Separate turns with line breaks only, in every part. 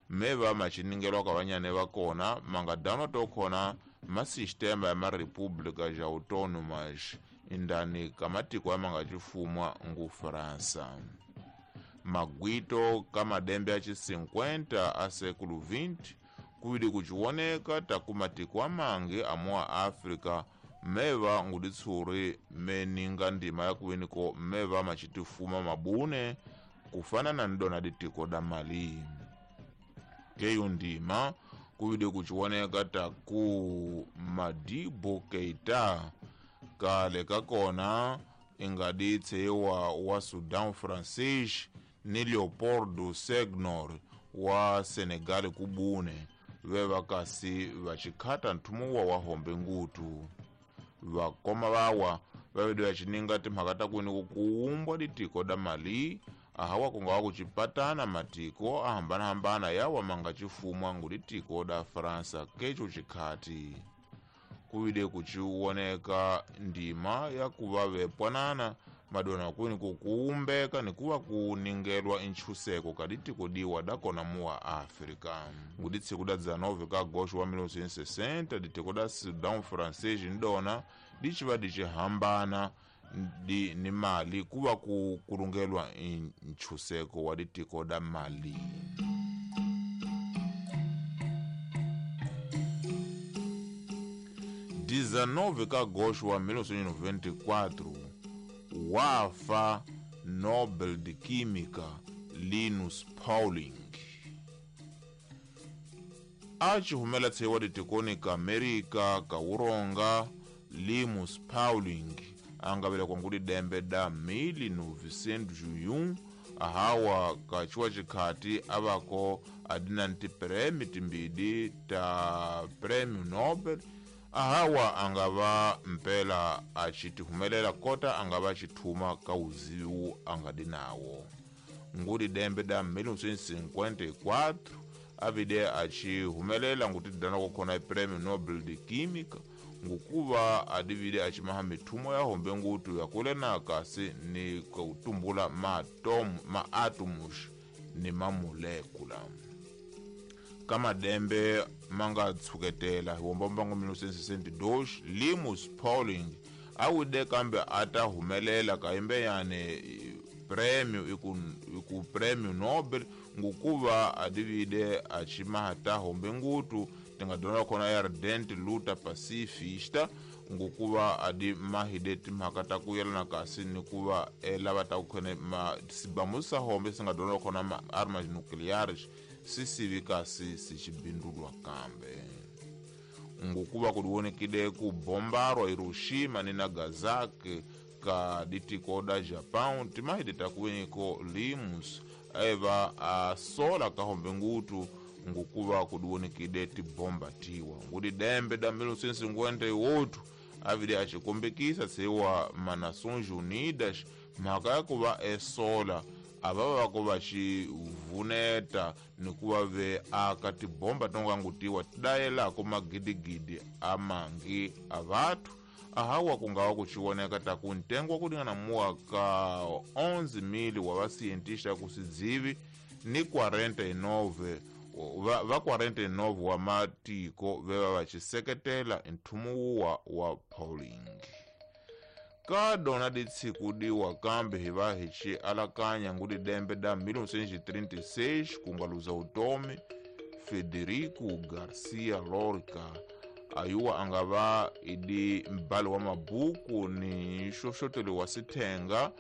Meva machiningelwa ka vanyane va kona mangadano to khona masistema ya marepública ja autônomas indani ka matiko ya mangachifumwa ngu França. Magwito ka madembe ya chi 50 a século 20 kuwidi kuchiwoneka taku matiko amangi amuwa África meva nguditsuri meninga ndima ya kuweniko meva machitifuma mabune kufanana ndona ditiko da Mali. Keyo ndima kuwide kuchiwoneka taku Madibo Keita kale kakona ingaditsewa wa Sudan Francais ni Leopoldo Senghor wa Senegal kubune veva kasi vachikhata nthumuwa wa hombe ngutu. Vakoma vawa vavede vachininga timhaka ta kwini kuumbwa ditiko da Mali ahawa kungawa kuchipatana matiko ahambanahambana yawa mangachifumwa nguditiko da França kecho chikhati. Kuwide kuchiwoneka ndima ya kuva vepwanana madona kwini kukuumbeka nikuva kuningelwa intchuseko kaditiko diwa dakona muwa África. Nguditsiku da 19 ka agosto wa 1960 ditiko da Sudan Francais ndona dichiva dichihambana di ni Mali kuva kukulungelwa intchuseko wa ditiko da Mali. 19 ka agosto wa 1994 wafa Nobel de Química Linus Pauling. Achihumela tsewa ditikoni ka Amerika ka uronga Linus Pauling angavela ngudi dembe da 1901 ahawa kachiwa chikhati avako adina nti prêmio timbidi ta prêmio Nobel ahawa angava mpela achitihumelela kota angava achithuma ka uziwu angadi nawo. Ngudi dembe da 1954 avide achihumelela nguti dana kukhona iprêmio Nobel de Química ngukuva adivide achimaha mithumo ya hombe ngutu yakulena kasi ni kutumbula maatomus ni mamolekula. Kama dembe manga tsuketela hiwombombango 1962 Linus Pauling awude kambe ata humelela kaimbe yane prêmio iku prêmio Nobel ngukuva adivide achimaha ta hombe ngutu tingadona khona ya ardente luta pacifista ngukuva adi mahide timhaka ta kuyelana kasi nikuva lava ta kukhone ma sibamu sa hombe singadona khona ma armas nucleares sisivi kasi sichibindulwa kambe. Ngukuva kuliwonekile ku bombarwa Hiroshima ni Nagasaki ka ditiko da Japan timahide takuweniko Limus eva asola ka hombe ngutu ngukuva kuliwonekile tibomba tiwa. Ngudi dembe da 1958 avide achikombekisa sewa ma Nações Unidas mhaka ya kuva esola ava vako vachivuneta nikuva ve aka tibomba tongangutiwa tidayelako magidigidi amangi avathu ahawa kungawa kuchioneka taku ntengo wa kulingana muwa ka 11,000 wa vasientista kusidzivi ni 49 va 49 wa matiko veva vachiseketela nthumu wa Pauling. Ka dona ditsiku diwa kambe hiva hichi alakanya ngudi dembe da 1936 kungaluza utomi Federico Garcia Lorca ayuwa angava idi mbali wa mabuku ni xoxoteli wa sithenga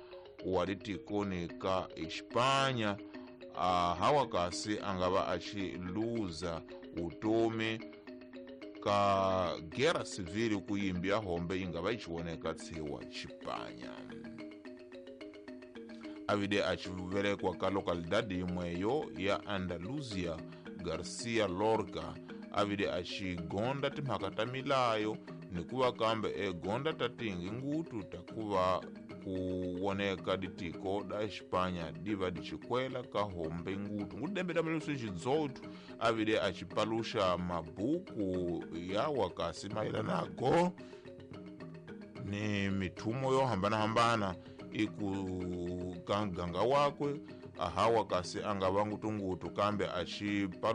wa ditikoni ka Hispania hawa kasi angava achiluza utomi ka guerra civil kuyimbia hombe ingava ichioneka tsiwa Chipanya. Avide achivelekwa ka localidade imweyo ya Andalusia Garcia Lorca avide achigonda timhaka ta milayo nikuva kambe egonda tatingi ngutu takuva kuwoneka ditiko da Hispania diva dichikwela ka hombe ngutu. Ngudembe da 1918 avide achipalusha mabuku yawa kasi mayelanako ni mithumo yo hambanahambana iku ka ganga wakwe ahawa kasi angava ngutungutu kambe achipalusha